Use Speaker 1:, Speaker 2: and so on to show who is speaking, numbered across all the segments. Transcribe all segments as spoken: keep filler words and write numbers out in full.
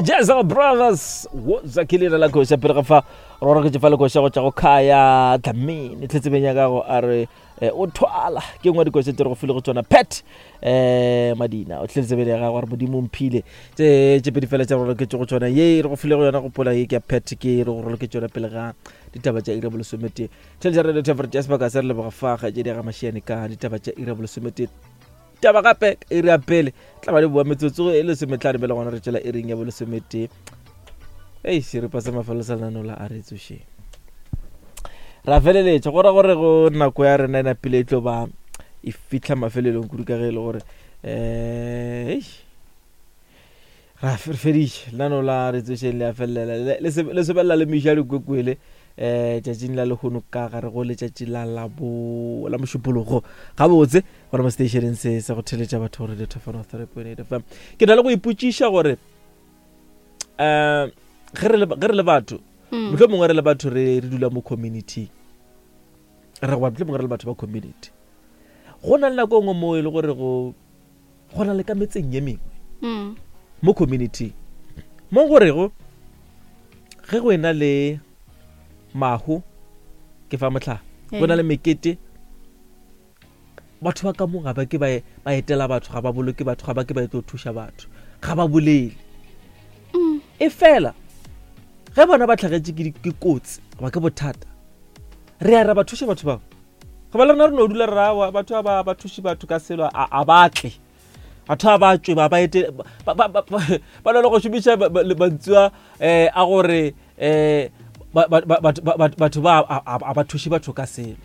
Speaker 1: Jazz Brothers wo zakile la koša pele ga fa re gore ke fa le koša go tša go khaya Dlamini tletsebeng ya gago a re eh, o thwala ke nngwe ya dikoša tse re go file go tsona Pat eh Madina o tletsebeng ya gago a re modimo mphile tse tše pedi fela tša gore ke go tsona ye re go file go yona go pola ye ke ya Pat ke re go rolo ke tsona pele ga ditaba tša iri ya bolesometee. Tšhelete ya radio Temperate ya sebaka se re leboga fa ga tše di ga mašiane ka ditaba tša iri ya bolesometee. Taba gape iri ya pele tla ba le boa metsotso e lesometlhano pele gona re tšwela iring ya bolesometee. Ei seripa sa mafelo sa lenaneo la a re tsošeng ra feleletša go ra gore go nako ya rena e napile e tlo ba e fitlha mafelelong kudu ka ge e le gore um ra re feditše lenaneo la re tsošeng le a felelela le le sebelela le meša dikwekwele um tšatšing la lehono ka gare go letšatši la labo la mošupologo gabotse gore mo stationeng se se go theletša batho gore radio three point eight F M. Ke na le go ipotšiša gore um ge re le batho mohlomongwe mongwe re le batho re re dula mo community re goba mohlomongwe re le batho ba community go na le nako nngwe mo e le gore go go na le ka metseng ye mengwe mo community mo gorego ge go ena le mahu ke fa mohlala go na le mekete batho ba ka mo ga ba ke ba ba etela batho ga ba boloke batho ga ba ke ba etlo thuša batho ga ba bolele e fela ge bona ba tlhagetše ke ke kotsi goba ke bothata re ya ra ba thuša batho bao goba le rena re no dula re rawa batho ba ba thuše batho ka selo a ba tle batho ba ba tswe ba ba ete ba na le go šomiša mantswe um a gore um batho ba a ba thuše batho ka selo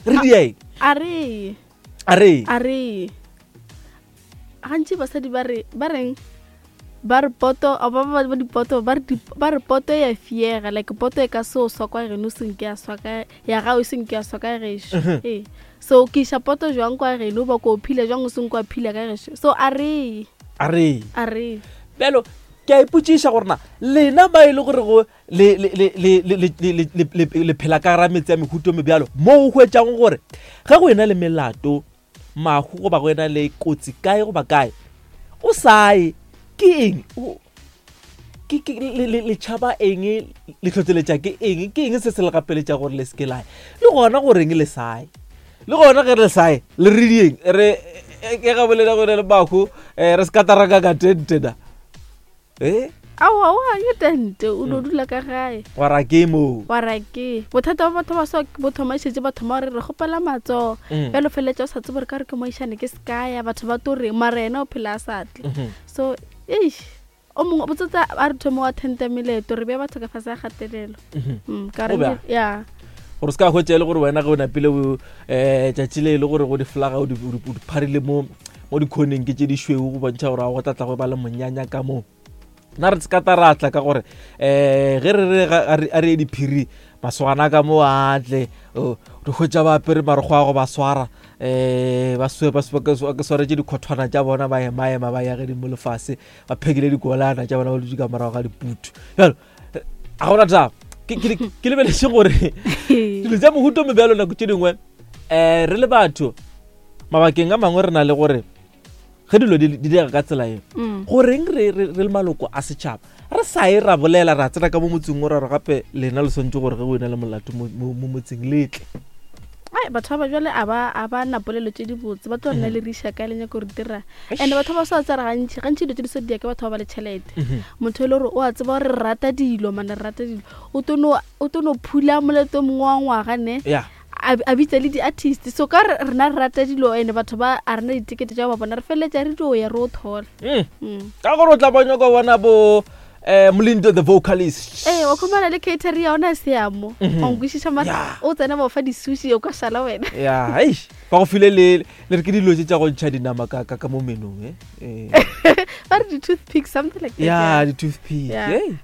Speaker 1: re dieng
Speaker 2: a re
Speaker 1: a re
Speaker 2: a re gantši basadi ba re ba reng ba re poto ba ba ba dipoto ba re ba re poto ya fiega like poto e ka se o swa kwa geno senke ya swa ka ya gago senke ya swa ka gešo ee so ke iša poto jwang kwa geno ba ko phila jwang o senke wa phila ka gešo so a re
Speaker 1: a re
Speaker 2: a re
Speaker 1: bjalo ke a ipotšiša gore na lena ba e le gore go le le le le le le le phela ka gara metse ya mehuto mebjalo mo o hwetšang gore ge go ena le melato mahu goba go ena le kotsi kae goba kae o sae ke eng ke ke le le tšhaba eng le tlhotleletša ke eng ke eng se se le gapeletša gore le seke lae le gona goreng le sae le gona ge le sae le re dieng re ke ga bolela gore le mahu re se ka taraka ka tente na eh
Speaker 2: aowa oa ke tente o no dula ka gae
Speaker 1: wa ra ke mo
Speaker 2: wa ra ke bothata ba batho ba so bo thoma šetse ba thoma gore re kgopela matsogo bjalo feleletša o sa tsebe gore ka re ke moišane ke sekaya batho ba to reng mara yena o phela a sa tle so eish o mongwe botsotsa a re thome wa tenta meleto re bea batho ka fase ga kgatelelo ka re ya
Speaker 1: gore se ka hwetša e le gore wena ge o napile um tšatši le e le gore go di-flaga o di pharile mo mo dikhoneng ke tše di šweu go bontšha gore a go tlatla go ba le monyanya ka moo nna re se ka taratla ka gore um ge re re a re ye diphiri masogana ka mo a tle re hwetša ba apere marokgo a go ba swara um ba ke swaretše dikhothwana tša bona ba emaema ba ya gedimo lefase ba phekile dikolana tša bona ba dutše ka morago ga diputu bjalo ga gona taba ke lebeletse gore dilo tša mohuto mebjalo nako tše dingwe um re le batho mabakeng a mangwe re na le gore ge dilo di direga ka tsela eo goreng re re le maloko a setšhaba re sa e ra bolela ra tsena ka mo motseng o ra re gape lena le swantse gore ge o ena le molato mo motseng letle
Speaker 2: ai batho ba ba jwale a ba a ba na polelo tše dibotse ba tlo nna le riša ka le nyako re dira and batho ba sa tsara gantši gantši dilo tše di so dia ke batho ba ba le tšhelete motho e le gore o a tseba gore re rata dilo mane re rata dilo o to no o to no phula moleto mongwe wa ngwaga ne a bitsa le di-artist so ka rena re rata dilo ene batho ba a rena ditekete tša ba bona re feleletša re dio ya re o thola
Speaker 1: ka gore o tla ba nyaka bona bo um Molindo the vocalist
Speaker 2: ee wa khumana le catery ya ona seamo wa nkwešiša mara o tsena ba o fa di-sushi o ka šala wena
Speaker 1: ya eish ba go file le le re ke dilo tše tša go ntšha dinama ka ka mo menong eh
Speaker 2: ba re di-toothpick something like that
Speaker 1: ya di-toothpick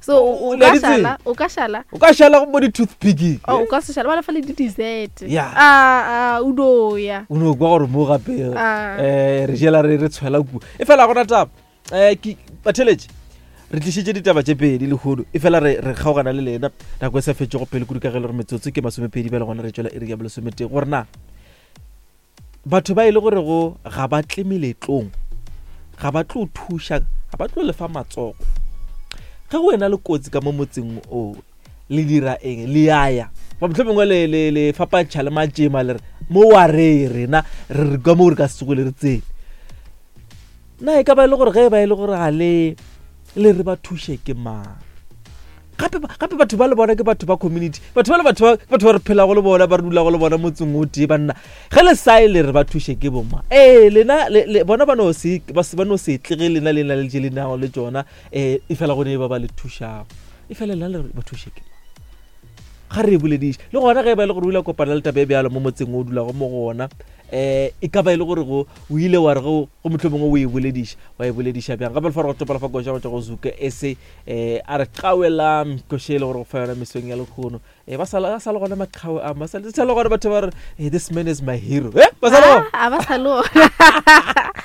Speaker 2: so o ka šala o ka šala
Speaker 1: o ka šala go mo di-toothpick
Speaker 2: o ka se šala ba le fa le di-dessert a a o do ya
Speaker 1: o no kwa gore mo gape um re jela re re tshwela kua e fela gona taba um ke batheletše re tlišitše ditaba tše pedi lehono e fela re re kgaogana le lena nako e sa fetšego pele kudu ka ge le gore metsotso ke masomepedi bjale gona re tšwela iri ya bolesometee gore na batho ba e le gore go ga ba tle meletlong ga ba tlo thuša ga ba tlo lefa matsogo Ge go ena le kotsi ka mo motseng o le dira eng? Le aya ba mohlomongwe le le le fapantšha le matšema le re mo wa re rena re re ka mo re ka se tsoge le re tsene. Na e ka ba e le gore ge e ba e le gore ga le le re ba thuše ke mang? Gape gape batho ba le bona ke batho ba community, batho ba le batho ba batho ba re phelago le bona, ba re dulago le bona motseng o tee banna. Ge le sae le re ba thuše ke boma, ee lena le, le, bona ba no se ba se ba no se tlege lena le na le tše le nago le tšona, um e fela go ne ba ba le thušago, e fela lena le re ba thuše ke mang? Ga re e bolediše le gona ge e ba e le gore o ile kopana le taba e bjalo mo motseng o dulago mo go ona, um e ka ba e le gore go o ile wa re go go mohlomongwe o e bolediša, wa e bolediša bjang? Gape le fa re go topela fa koša go tšwa go Zuka ese um a re qawela koše e le gore go fa yona mesong ya lekgono. Um ba sa ba sa le gona maqhawe a ba sa le gona batho ba re, hey, this man is my hero. Eh ba sa le gona?
Speaker 2: A ba sa le gona.